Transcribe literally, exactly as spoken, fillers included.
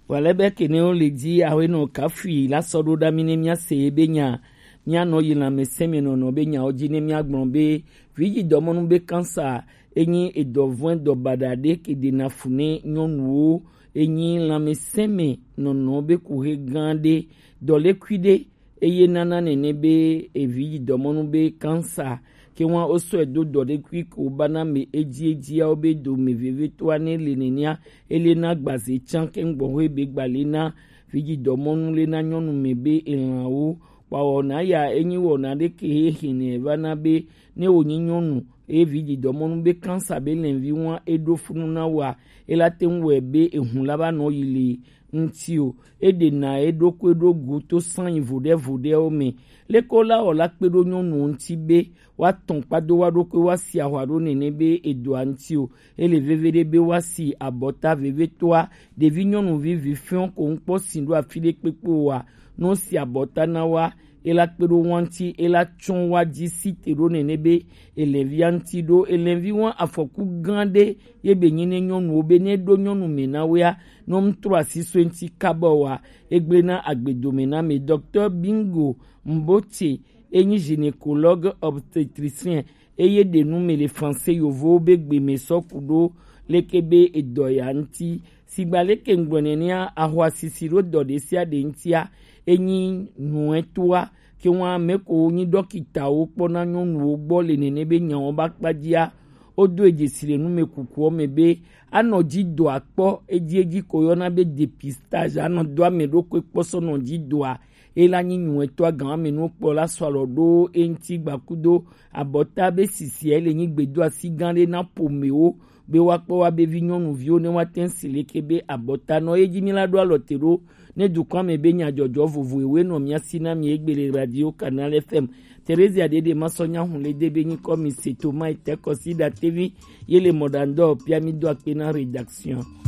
Wale be kene wo le di awe no kafi la sɔ ɖo ɖa mi ne mia se ye be nya. Mia nɔ yi lãmesẽ me nɔnɔ be nyawo dzi ne mia gblɔ be vidzi dɔmɔnu be kansa enyi edɔvɔ̃e dɔ baɖa ɖe ke ɖena fu ne nyɔnuwo. Enyi lãmesẽ me nɔnɔ be kuxe gã ɖe, dɔlekui ɖe, eye nana nene be evi yi dɔmɔnu be kansa ke wa o sɔe do dɔ ɖe kui ko ba na me edzi edziawo be do me veve to ane le nenea. Ele na gbaze tsan ke ŋgbɔ hoe be gba le na vi yi dɔmɔnu le na nyɔnu me be elanwo kpawɔ na ya enyi wɔna ɖe ke he hene va na be ne wo nyi nyɔnu eye vi yi dɔmɔnu be kansa be lɛnvi wa eɖo funu na wa ela te ŋu wɛ be ehun la ba nɔ yi le ŋuti o. Eɖena eɖokui ɖo go to sanyi voɖevoɖewo me. Leke wola wɔ la kpe ɖo nyɔnuwo ŋuti be woatɔn kpado wa ɖokui woasi ahwa ɖo nene be edoa ŋuti o. Ele veve ɖe be woasi abɔta vevetoa ɖevi nyɔnuvi vi fiɔ ko ŋkpɔ si ɖo afi ɖe kpekpe oa, ne wosi abɔta na wa ela kpe ɖo wa ŋuti ela tsɔ wa dzi si te ɖo nene be elɛvia ŋuti ɖo elɛvi wa afɔku gã ɖe ye be nyi ne nyɔnuwo be ne ɖo nyɔnu me na wea nɔ ŋtrɔ asi so eŋti kaba wa. Egblẽ na agbedome na me Dɔktɔ Bingo Mbote enyi gynécologue obstétricien eye ɖe nu me le français yovowo be gbe me sɔ ku ɖo leke be edɔ ya ŋti. Sigba leke ŋgblɔ nenea ahwa sisi ɖo dɔ ɖe sia ɖe ŋtia enyi nuɛtoa ke wa me ko nyi ɖɔkitawo kpɔ na nyɔnuwo gbɔ le nene be nyawo ba kpadzia wodo edzesi le numekukuwo me be anɔ dzi doa kpɔ edzi edzi ko yɔna be dépistage anɔ do ame ɖokui kpɔ sɔ nɔ dzi doa ela nyi nyuɛtɔ agã ame nuwo kpɔ la sɔ alɔ ɖo eŋti gbakudo abɔta be sisia ele nyi gbedo asi gã ɖe na pomewo be woakpɔ wa be vi nyɔnuviwo ne woate ŋu si leke be abɔta nɔ ye dzi mi la ɖo alɔ te ɖo ne dukɔa me be nyadzɔdzɔ vovo ewe nɔ mia si na mi egbe le radio Canal F M. Theresia Dede masɔ nya hun le de be nyikɔ mi se to mai te kɔsi da tevi ye le mɔɖaŋdɔ pia mi do akpe na rédaction.